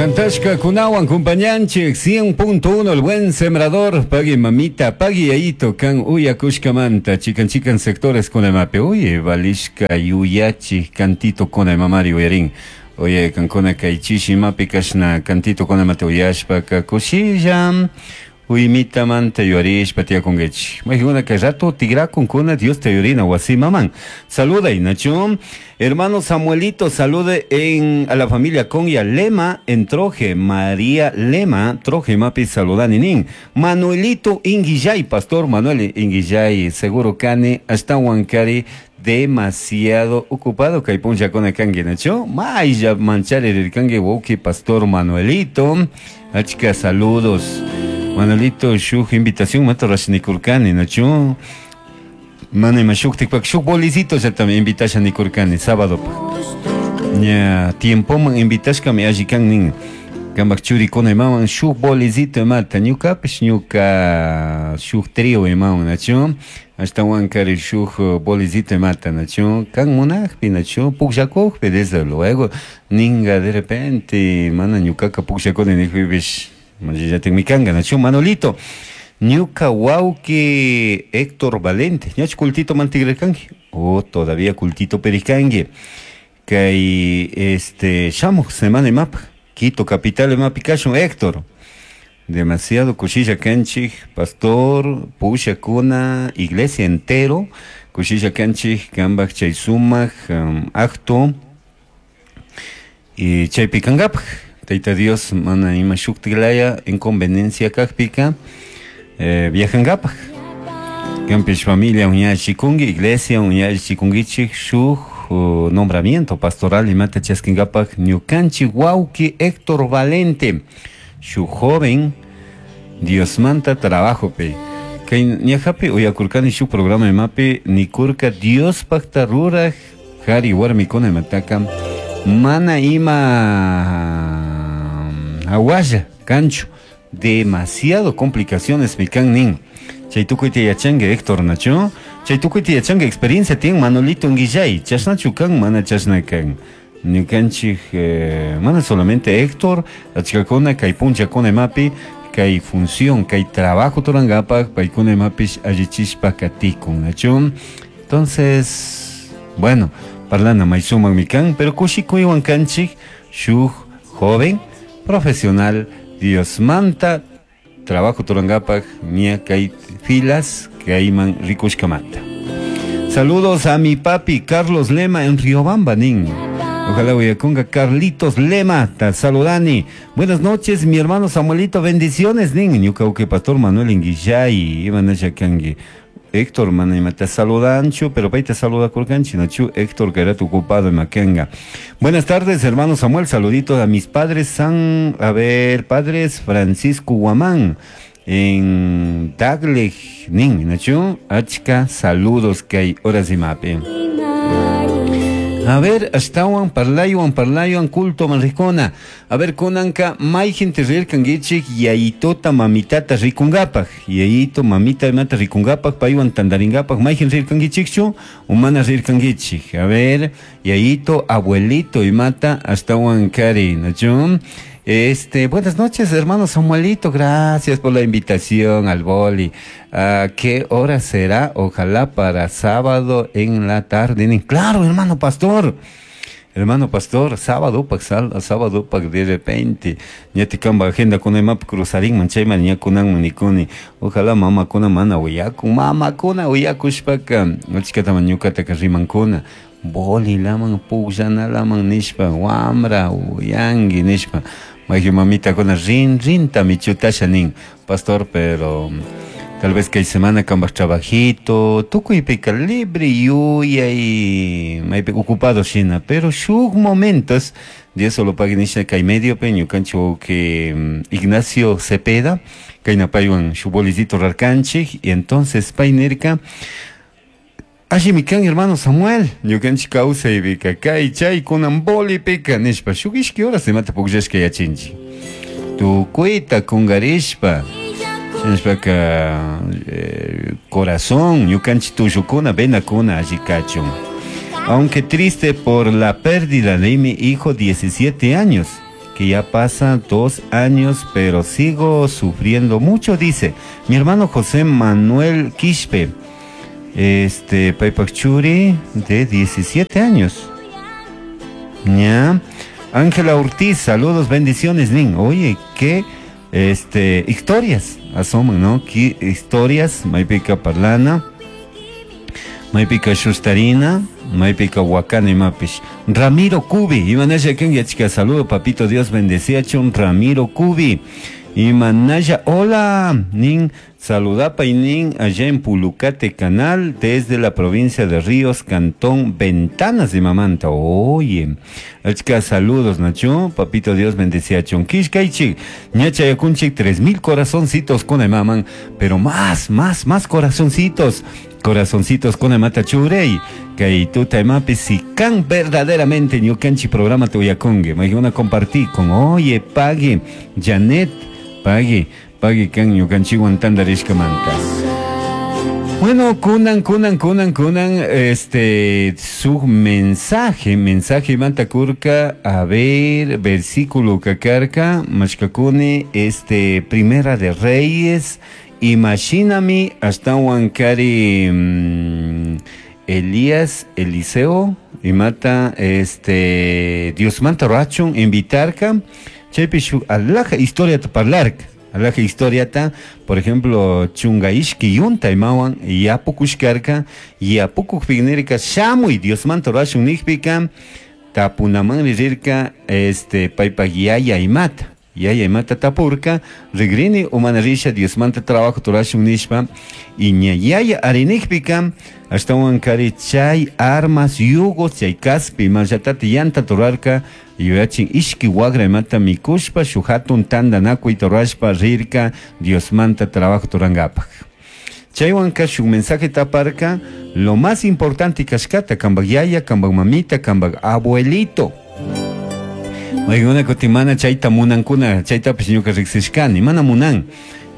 Cantashkakunawan kumpañanchik 100.1 El Buen Sembrador. Pagui mamita, pagui yayito kan uyakushkamanta chikan chikan sectores kunamapi. Oye, valishka yuyachi cantito kunamamari uyarin. Oye, kankuna kay chishimapi kashna cantito kunamata uyashpaka kushilla Uimitamanta yuarishpa tiyakunkichik. Mayqinkunaka kay rato tigrakunkuna Diosta yurina wasimaman. Saluday, Nacho. Hermano Samuelito, salude en, a la familia Conya Lema en Troje. María Lema, Troje mapi saludani nin. Manuelito Inguillay, Pastor Manuel Inguillay, seguro kani, hasta Huancari, demasiado ocupado kay punllakuna kanki, Nacho. Maylla manchari rirkanki wawqi Pastor Manuelito. Achka saludos. Manuelito, shuk invitación mata rashnikurkani, Nacho. Mana ima shuktikpak shuk bolicito llaktami invitasha nikurkani sábado. Ña tiempoman invitashkami alli kan nin. Kampak churikuna imawan shuk bolicito imata ñukapish ñuka shuk trío imawan, nachu. Ashtawankari shuk bolicito imata, nachu. Kan munakpi, nachu, pukllakukpi, desde luego ninga de repente mana ñukaka pukllakuni nijpipish machillatikmi kanka, nachu. Manolito, ñuka wawki Héctor Valente, ñachu cultito mantigrirkanki? Oh, todavía cultito perikanki. Kay este shamuj semana imapaj Quito capital imapi kashun Héctor. Demasiado kushilla kanchik, pastor, pushakuna, iglesia entero, kushilla kanchik, kambaj chay sumak acto y chaypi kankapaj. Tayta Dios mana ima shuktiklaya inconveniencia kajpika viajankapaj. Kampish familia uñachikunki, iglesia uñachikunkichik shuk nombramiento pastoral imata chaskinkapak ñukanchik wawki Héctor Valente, shuk joven Diosmanta trabajopi. Kay ñajapi uyakurkani shuk programa imapi nikurka Diospakta ruraj kari warmikuna imataka mana ima hawalla kanchu, demasiado complicaciones mikan nin. Chay tukuyta yachanki Héctor, nachu? Chay tukuyta yachanki experiencia tiyan Manolito Nguillay, chashnachu kan mana chashna kan. Ñukanchik mana solamente Héctor, achkakuna kay punchakuna imapi kay función, kay trabajo turankapak paykuna imapish allichishpa katikun, nachu? Entonces, bueno, parlana may sumakmi kan, pero kushikuywan kanchik shuk joven profesional Diosmanta trabajo turankapak ña kay filas kayman rikushkamanta. Saludos a mi papi Carlos Lema en Riobamba, nin. Ojalá uyakunga Carlitos Lema, ta saludani. Buenas noches, mi hermano Samuelito, bendiciones, nin. Ñuka uke pastor Manuel Inguillay, iban a kangi. Héctor, mana ima te saludanchu, pero pay te saluda kurkanchi, nachu, Héctor, que era tu ocupado en Makenga. Buenas tardes, hermano Samuel, saluditos a mis padres San, a ver, padres Francisco Guamán, en Daglej, nin, nachu, achka, saludos que hay horas y mape. A ver, ashtawan parlaywan parlaywan culto manricona. A ver, kunanka mayjin rirkankichik yayitota mamitata rikungapak. Yayito mamita imata rikungapak paywan tandaringapak mayjin rirkankichikchu o mana rirkankichik. A ver, yayito, abuelito imata ashtawan kari, ¿nachu? Buenas noches, hermano Samuelito, gracias por la invitación al boli. ¿A qué hora será? Ojalá para sábado en la tarde. Claro, hermano pastor. Hermano pastor, sábado pak sal, sábado pak de repente. Ña tikamba agenda kuna imap cruzarín manchayman ña kunan manikuni. Ojalá mama kuna mana uyakun, mama kuna uyakushpaka. Achkata ñukataka rimankuna. Boli laman pukllana laman nishpa, wamra uyangi nishpa. Mayju mamita kuna rin rinta michutasha nin, pastor, pero tal vez que hay semana kambaj trabajito, tukuypika libre yuyay, maypi ocupado shina, pero shuk momentos, Dios solo pague nisha kay medio pe, ñukanchik que Ignacio Cepeda, kayna paywan shuk bolicito rarkanchik, y entonces pay nirka, Alli mi kan hermano Samuel, ñukanchik kawsaypika kay chay kunan bolipika nishpa, shuk ishki horas imata pukllashka yachinchik. Tukuyta kungarishpa, shinashpaka corazón, ñukanchik tullukuna, venakuna alli kachun. Aunque triste por la pérdida de mi hijo, 17 años. que ya pasa 2 años, pero sigo sufriendo mucho, dice. Mi hermano José Manuel Quispe, paypak churi de 17 años. Ya. Ángela Ortiz, saludos, bendiciones, nin. Oye, qué historias asoman, ¿no? Qué historias, maypika parlana, maypika shustarina, maypika wakana imapish. Ramiro Cubi, imanaya ken chica, saludo, papito, Dios bendecía chun Ramiro Cubi. Imanaya, hola, nin, saludapa y nin, allá en Pulucate Canal, desde la provincia de Ríos, Cantón Ventanas de Mamanta. Oye, chica, saludos, Nacho, papito Dios bendecía chun. Kishkaichik, ñacha yakunchik, 3000 corazoncitos con el maman, pero más, más, más corazoncitos. Corazoncitos con el mata churey, que tu taimapi si can verdaderamente ñukanchi programa tuyakungue. Me a compartir con, oye, pague, Janet, pague, pague kan ñukanchi guantandarishka manta. Bueno, kunan, kunan, kunan, kunan, su mensaje, mensaje manta kurka, a ver, versículo kakarka, mashkakuni, Primera de Reyes, imagíname hasta Huancari, Elías, Eliseo, y mata, Dios manta rachun, invitarka, chaypi shuk alaja historia ta parlarka. Alaja historia ta, por ejemplo, chungaishki yunta imawan, yapukushkarka, yapukukpiknirka, shamuy, Dios manta rachun nikpika, tapunaman rirka, paypak yaya imata. Yaya imata tapurka, rigrini umanarisha Dios manta trabajo turashun nishpa, y ña yaya arinikpika, ashtawan kari chay armas yugos chay kaspi mallatati yanta turarka, yuyachin ishki wagra imata mikushpa, shuhatun tandanakuy turashpa rirka, Dios manta trabajo turangapak. Chaywanka shuk mensaje taparka, lo más importante kashkata, kambak yaya, kambak mamita, kambak abuelito. Maykuna kutimana chayta munankuna, chaytapish ñuka riksishkani, mana munan.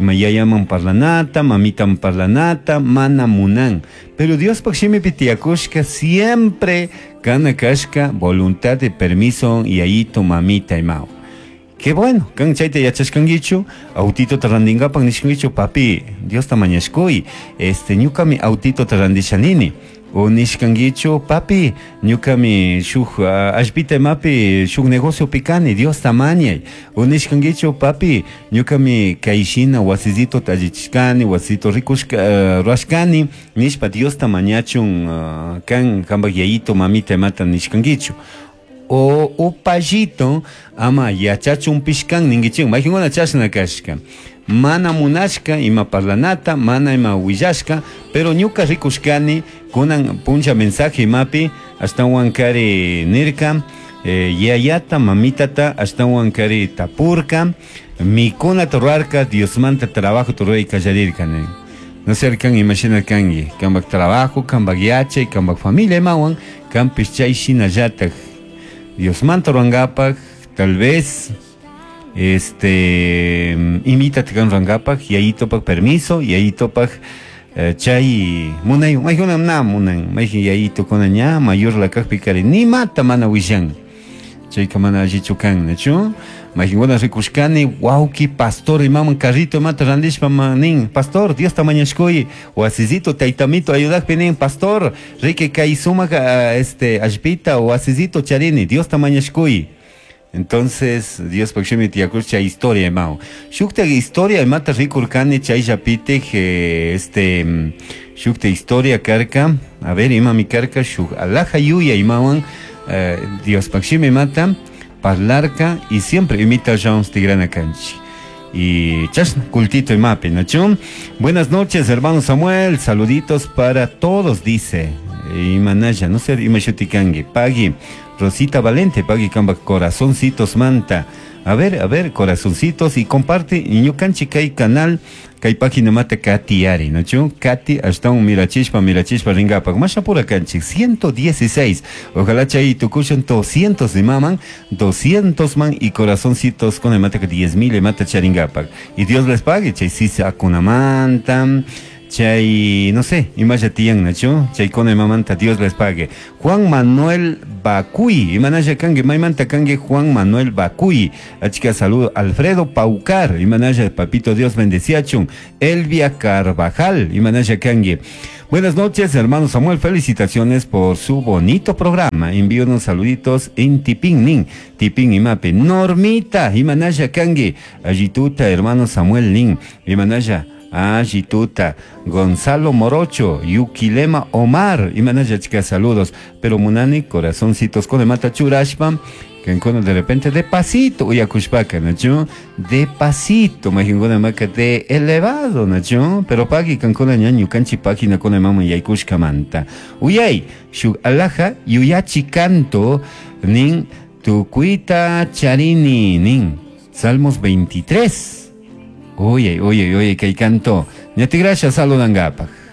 Ima yayaman parlanata, mamitan parlanata, mana munan. Pero Dios pak shimipi tiyakushka siempre kana kashka voluntad de permiso yayito, mamita imao. Qué bueno, kan chayta yachashkankichu, autito tarandingapak nishkankichu, papi, Dios ta mañashkuy, ñukami autito tarandishanini. O nishkankichu, papi, ñukami shuk allpita imapi shuk negocio pikani, Dios ta mañay. O nishkankichu, papi, ñukami kayshina wasisito tallichishkani, wasisito rikushka, rurashkani, nishpa Dios ta mañachun, kan kanpak yayito, mamita imata nishkankichu. O upallito, ama yachachun pishkan ninkichun, mayqinkuna chashna kashka. Mana munashka ima parlanata, mana ima willashka, pero ñuka rikushkani kunan puncha mensaje imapi, ashtawan kari nirka, yayata, mamitata, ashtawan kari tapurka, mikuna turarka, Diosmanta trabajo turay kallarirka, ne. No sé, kan imagina kangi, kambak trabajo, kambak yachay, kambak familia imawan, kampis chay shinallatak. Diosmanta ruangapak, tal vez, imítate kan ruangapak, y ahí topak permiso, y ahí topak, chay munay, mayjuna na munan, mayjin y ahí tocona ña, mayor la kajpi kari, ni mata mana wishan. Chay kamana allichu kan, ¿nachu? Mayjin rikushkani, wauki, pastor, imaman carrito, mata randishpa manin, pastor, Dios tamañashkuy, wasisito, taitamito, ayudakpi nin, pastor, rike kay sumaga, allpita, wasisito, charini, Dios tamañashkuy. Entonces, Dios pakshimi tiyakush chay historia imao. Shukta historia imata rikurkani chay yapite, shukta historia karka, a ver, imami karka, shuk alaja yuya imawan, Dios pakshimi mata, parlarka y siempre imita Jones Tigrana Kanchi. Y chashna, cultito imapi, ¿nacho? Buenas noches, hermano Samuel, saluditos para todos, dice. Imanaya, no sé, imashutikangi, pagui. Rosita Valente, pagui kamba corazoncitos manta. A ver, corazoncitos y comparte ñukanchi kay canal, kay página mata Katy Ari, ¿no? Katy, hasta un mirachispa, mirachispa ringapa. Más apura kanchi, 116. Ojalá chay tukushan 200 de maman, 200 man y corazoncitos con el mata que 10,000 mata charingapa. Y Dios les pague, chay sisa kunamanta. Chay, no sé, imalla tiyan nachu, chaykuna imamanta Dios les pague. Juan Manuel Bacuy, imanalla kanki, maymanta kanki Juan Manuel Bacuy. Achka saludo Alfredo Paucar, imanalla papito Dios bendeciachun. Elvia Carvajal, imanalla kanki. Buenas noches, hermano Samuel, felicitaciones por su bonito programa. Envío unos saluditos en Tipín, nin, Tipín imapi. Normita, imanalla kanki. Allituta, hermano Samuel, nin, imanalla. Allituta, Gonzalo Morocho, Yukilema Omar, imanalla chica saludos. Pero munani, corazoncitos con mata churashpa, que de repente de pasito, uyakushpaka, nachu, de pasito, majinkuna maka de elevado, nachu, pero pagi kankuna ñañu kanchi página con mama yaykushkamanta. Uyay, shuk alaja, yuyachi canto, nin, tukuita charini, nin, Salmos 23. Oye, oye, oye, kay canto. Ñati gracias, saludangapaj.